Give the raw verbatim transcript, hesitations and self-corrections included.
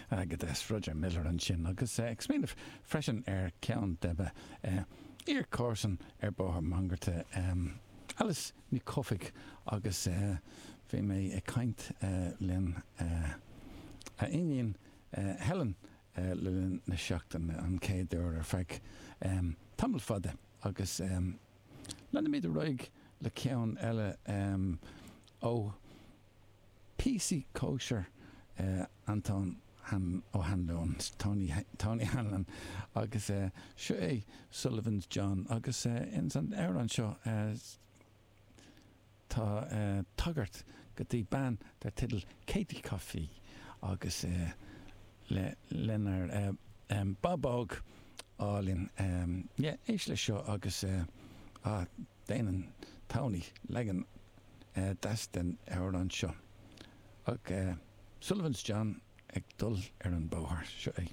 Go deas, Roger Miller ansin agus ag smaoineamh freisin ar ceann de mo iar-chomharsan ar Bhóthar Mangarta, Alice Ní Chofaigh, agus bhí mé ag caint lena iníon Helen le linn na seachtaine, an chéad uair ar feadh tamall fada, agus leanfaimid ar aghaidh le ceann eile ó píosaí cóisir Antóin Ó hAnluain, Tony, Tony Hanlon, agus seo é Sullivan's John, agus ins an amhrán seo tá tagairt go dtí bean dar teideal Katie Coffey agus le lenár bábóg álainn. Yeah, éist leis seo agus ah, déanann Tony leagan deas den amhrán seo. Ach Sullivan's John ag dul ar an bóthar, seo é.